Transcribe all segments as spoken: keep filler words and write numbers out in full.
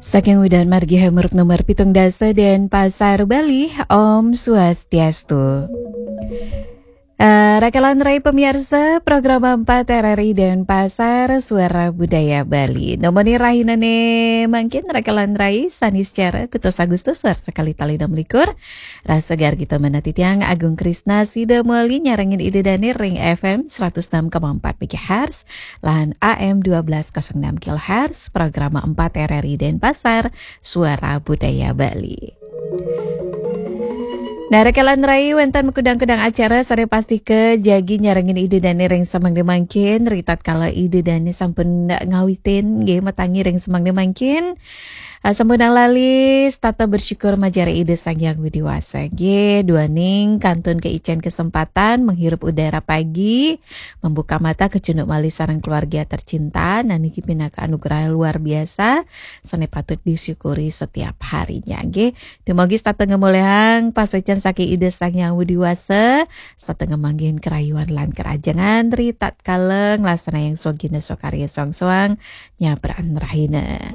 Saking Udan Margi Hamuruk nomor pitung dasa Denpasar, Bali, Om Swastiastu. Eh, Rakalan Rai pemirsa, program empat R R I Denpasar, Suara Budaya Bali. Nomoni rahina ne mangkin Rakalan Rai, Saniscara, kutus Agustus, suar sekali tali enam likur. Rasa gar kita menati tiang Agung Krisna sida moli nyarengin ida dane ring F M seratus enam koma empat megahertz, lan A M dua belas kosong enam kilohertz, program empat R R I Denpasar, Suara Budaya Bali. Nah, Rakalan Rai, wenten makudang-kudang acara sare pastika jagi nyarengin ida dane ring semeng mangkin, ri tatkala ida dane sampun ngawitin, nggih, matangi ring semeng mangkin. Ah, sampun lali, setata bersyukur majara Ida Sang Hyang Widi Wasa. Nggih, duaning kantun keicen kesempatan menghirup udara pagi, membuka mata kecunduk malih sareng keluarga tercinta, nah niki pinaka anugerah luar biasa, sane patut disyukuri setiap harinya. Nggih, dumugi setata ngemolihang pasuecan saking Ida Sang Hyang Widi Wasa, setata ngemanggihin kerayuan lan kerajengan ri tatkala nglaksanaang swagina swakarya soang-soang, nyabran rahina.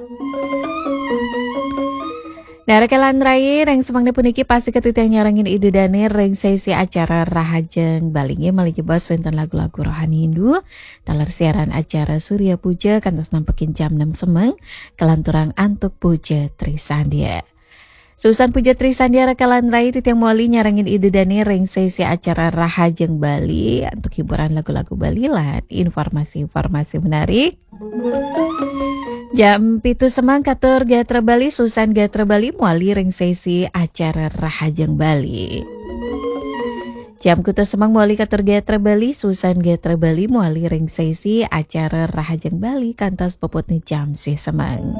Nah, Rakalan Rai, ring semengna puniki pastika titiang nyarengin ida dane ring sesi acara Rahajeng Bali, nggih, malih jebos wenten lagu-lagu rohani Hindu, taler siaran acara Surya Puja kantos nampekin jam enam semeng, kalanturang antuk Puja Trisandia. Susan Puja Trisandia, Rakalan Rai, titiang moli nyarengin ida dane ring sesi acara Rahajeng Bali antuk hiburan lagu-lagu Bali lan informasi-informasi menarik. Jam pitu semeng katur gatra Bali, Susan gatra Bali moli ring sesi acara Rahajeng Bali. Jam kutus semeng moli katur gatra Bali, Susan gatra Bali moli ring sesi acara Rahajeng Bali kantos puputne jam sih semeng.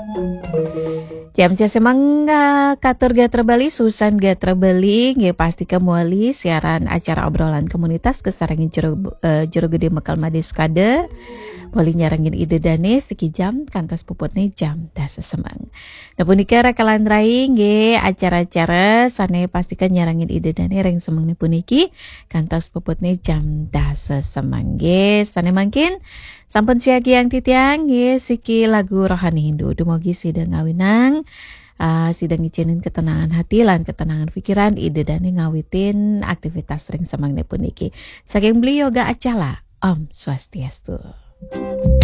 Jam sih semeng, ah, katur gatra Bali, Susan gatra Bali, nggih, pastika moli siaran acara obrolan komunitas kasarengin juru, eh, juru gede Mekal Made Sukada. Moli nyarengin ida dane siki jam kantos puputne jam dasa semeng. Nah, punika Rakalan Rai, nggih, acara-acara sane pastika nyarengin ida dane ring semengne puniki kantos puputne jam dasa semeng, nggih. Sane mangkin sampun siagiang titiang, nggih, siki lagu rohani Hindu. Dumugi sida ngawinang, ah, sida ngicinin ketenangan hati lan ketenangan pikiran ida dane ngawitin aktivitas ring semengne puniki. Saking Beli Yoga Acala, Om Swastiastu.